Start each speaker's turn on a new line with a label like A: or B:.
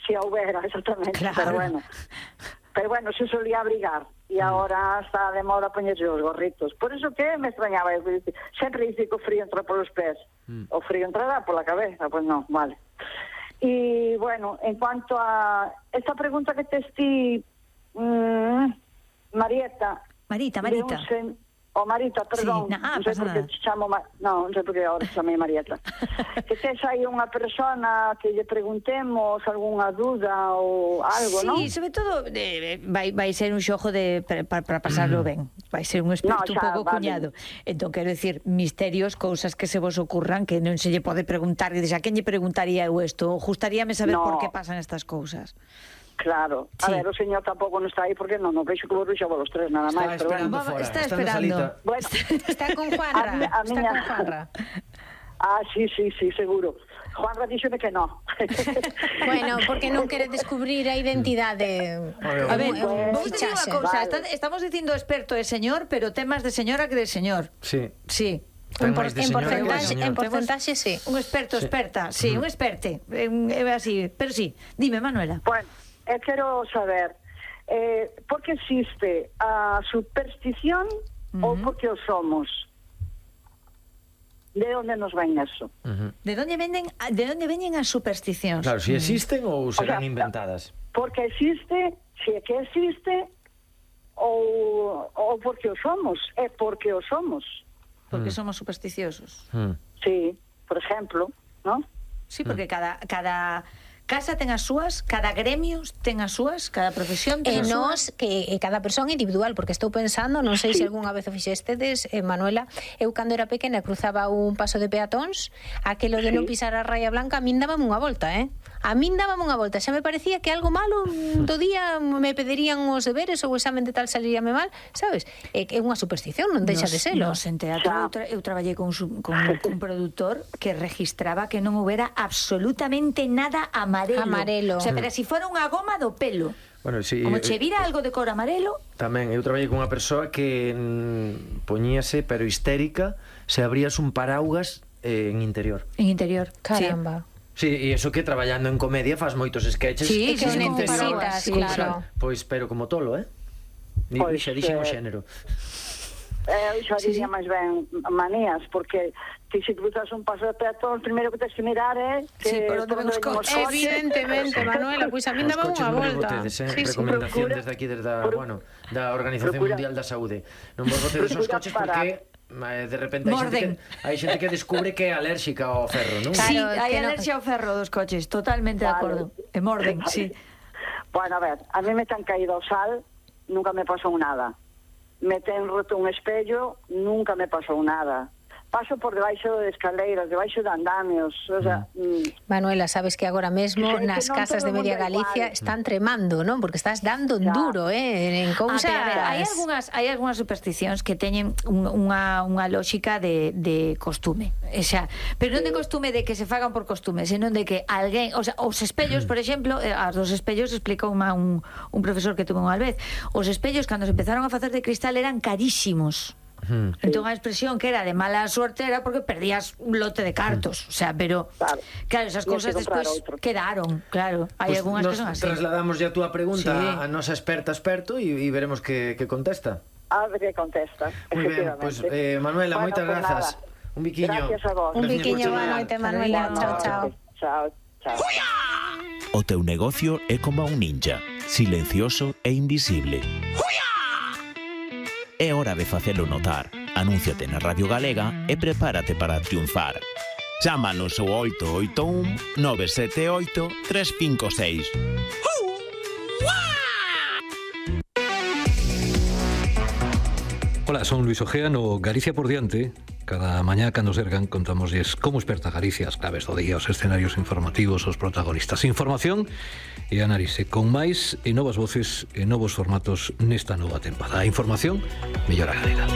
A: si houbera, exactamente,
B: Claro.
A: pero bueno, se solía abrigar e agora está de moda poñerse os gorritos. Por eso que me extrañaba, sempre dice que o frío entra polos pés. O frío entrará pola cabeza, pois non, vale. E bueno, en cuanto a esta pregunta que tes ti, Marita. O Marita, perdón, non sei por que te chamo non sei por que agora chamei Marieta. Que tes aí unha persona que lle preguntemos algunha dúda ou algo, non?
B: Sí, sobre todo vai ser un xogo para pasarlo ben. Vai ser un experto un pouco cuñado. Entón, quero decir, misterios, cousas que se vos ocurran que non se lle pode preguntar, e a quen lle preguntaría eu isto? Gustaríame saber por que pasan estas cousas.
A: Claro, a ver, o señor tampouco non está aí porque non veixo que vos veixo vos tres nada máis, pero bueno.
B: Está esperando.
A: Bueno,
C: está con Juanra.
A: Sí, seguro. Juanra díxome que non.
C: Bueno, porque non quere descubrir a identidade.
B: A ver, vamos a decir unha cousa, estamos dicindo experto de señor, pero temas de señora que de señor.
D: Sí.
C: En porcentaxe, sí.
B: Un experto, experta, sí, un experte. Así, pero sí. Dime, Manuela.
A: Bueno, quero saber por que existe a superstición ou por que o somos? De onde nos ven eso?
B: De onde veñen as supersticións?
D: Claro, si existen ou serán inventadas.
A: Porque existe, si é que existe, ou porque o somos? É porque o somos.
B: Porque somos supersticiosos.
A: Sí, por exemplo, ¿no?
B: Sí, porque cada casa ten as súas, cada gremio ten as súas, cada profesión ten as súas.
C: Que cada persona individual, porque estou pensando, non sei se algunha vez o fixestedes, Manuela, eu cando era pequena cruzaba un paso de peatóns, aquelo de non pisar a raya blanca, a min dábame unha volta, A min dábame unha volta, xa me parecía que algo malo do día me pedirían os deberes ou o examen de tal saliríame mal, sabes? É unha superstición, non deixa de selo.
B: En teatro eu traballei con un produtor que registraba que non houbera absolutamente nada amarelo. O sea, pero si fora unha goma do pelo.
D: Bueno, sí,
B: como che vira algo de cor amarelo.
D: Tamén, eu traballei con unha persoa que poñíase, pero histérica, se abrías un paraugas en interior.
B: En interior,
C: caramba.
D: Sí, e iso que traballando en comedia faz moitos sketches.
C: Sí, que necesitas, claro.
D: Pois, pero como tolo, Xa dixen o xénero.
A: Eu xa diría máis ben manías, porque ti se cruzas un paso de peatón, o primeiro que tens que mirar é que
B: por onde ven os coches.
C: Evidentemente, Manuela, pois a min daba unha volta.
D: Recomendación desde aquí, desde da Organización Mundial da Saúde. Non vos botedes os coches porque de repente hai xente que descubre que é alérxica ao ferro, non?
B: Sí, hai alerxia ao ferro dos coches, totalmente de acordo. E morden, sí.
A: Bueno, a ver, a mí me ten caído ao sal, nunca me pasou nada. Me ten roto un espello, nunca me pasou nada. Paso por debaixo de escaleiras, debaixo de andamios, o sea...
C: Manuela, sabes que agora mesmo nas casas de Media Galicia están tremando, non? Porque estás dando un duro, en cousas...
B: Hai algunhas supersticións que teñen unha lógica de costume, pero non de costume de que se fagan por costume, senón de que alguén, o sea, os espellos, por exemplo, as dos espellos explicou un profesor que tuve unha vez, os espellos cando se empezaron a facer de cristal eran carísimos. Entón a expresión que era de mala suerte era porque perdías un lote de cartos, o sea, pero claro, esas cousas despois quedaron, claro, hai algunhas que son así.
D: Trasladamos ya a túa pregunta a nosa experto e veremos que contesta.
A: A ver que contesta.
D: Moi ben, pois Manuela, moitas grazas. Un biquiño.
A: Gracias a vos.
C: Un biquiño, boa noite, Manuela.
A: Chao.
E: O teu negocio é como un ninja, silencioso e invisible. É hora de facelo notar. Anúnciate na Radio Galega e prepárate para triunfar. Chámanos ao 881 978 356.
F: Hola, son Luis Ojea no Galicia por diante. Cada mañá cando sergan contámosles como esperta Galicia, as claves do día, os escenarios informativos, os protagonistas. Información e análise con máis e novas voces e novos formatos nesta nova tempada. A información mellora galega.